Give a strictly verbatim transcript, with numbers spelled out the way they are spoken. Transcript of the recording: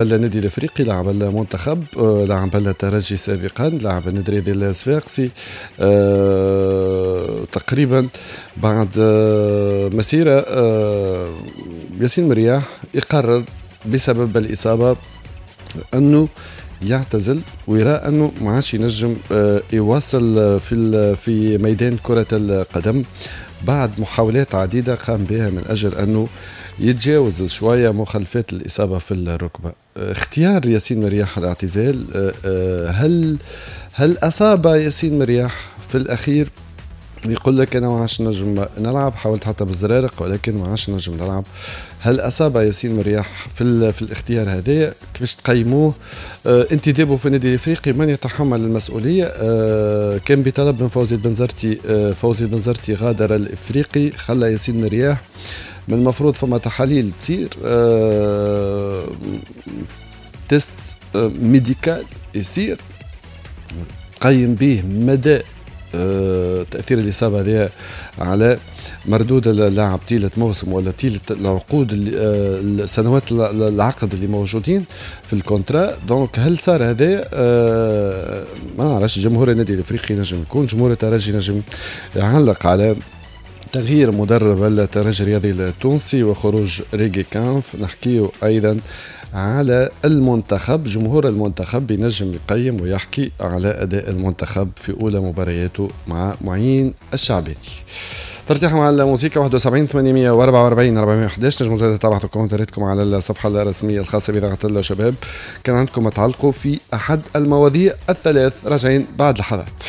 النادي الافريقي، لاعب المنتخب، آه، لاعب الترجي سابقا، لاعب النادي الصفاقسي، أه تقريبا بعد آه، مسيره أه ياسين مرياح يقرر بسبب الاصابة انه يعتزل ويرى انه ما عادش ينجم آه، يواصل في في ميدان كره القدم بعد محاولات عديدة قام بها من اجل انه يتجاوز شوية مخلفات الاصابة في الركبة. اختيار ياسين مرياح الاعتزال، آه، آه، هل هل اصاب ياسين مرياح في الاخير؟ يقول لك انا ما عادش نجم نلعب، حاولت حتى بالزرارق ولكن ما عادش نجم نلعب. هل اصاب ياسين مرياح في في الاختيار هذا؟ كيفاش تقيموه؟ آه انتدابه في النادي الافريقي، من يتحمل المسؤولية؟ آه كان بطلب من فوزي البنزرتي، آه فوزي البنزرتي غادر الافريقي، خلى ياسين مرياح. من المفروض فما تحاليل تصير، آه test آه médical يصير قيم به مدى آه، تاثير الاصابة هذه على مردود اللاعب طيلة موسم ولا طيلة العقود، اللي آه، السنوات العقد اللي موجودين في ال contrat. donc هل صار هذا؟ آه، ما نعرفش. جمهور النادي الافريقي نجم يكون، جمهور الترجي نجم يعلق على تغيير مدرب الترجي الرياضي التونسي وخروج ريجيكامب. نحكيه ايضا على المنتخب، جمهور المنتخب ينجم يقيم ويحكي على اداء المنتخب في اولى مبارياته مع معين الشعباني. ترتاحوا مع الموسيقى. واحد وسبعين ثمانمية وأربعة وأربعين أربعمية وحداش، نجموا زاد تبعثوا كومنتاراتكم على الصفحة الرسمية الخاصة بإذاعة الشباب كان عندكم تعلقوا في أحد المواضيع الثلاث. راجعين بعد لحظات.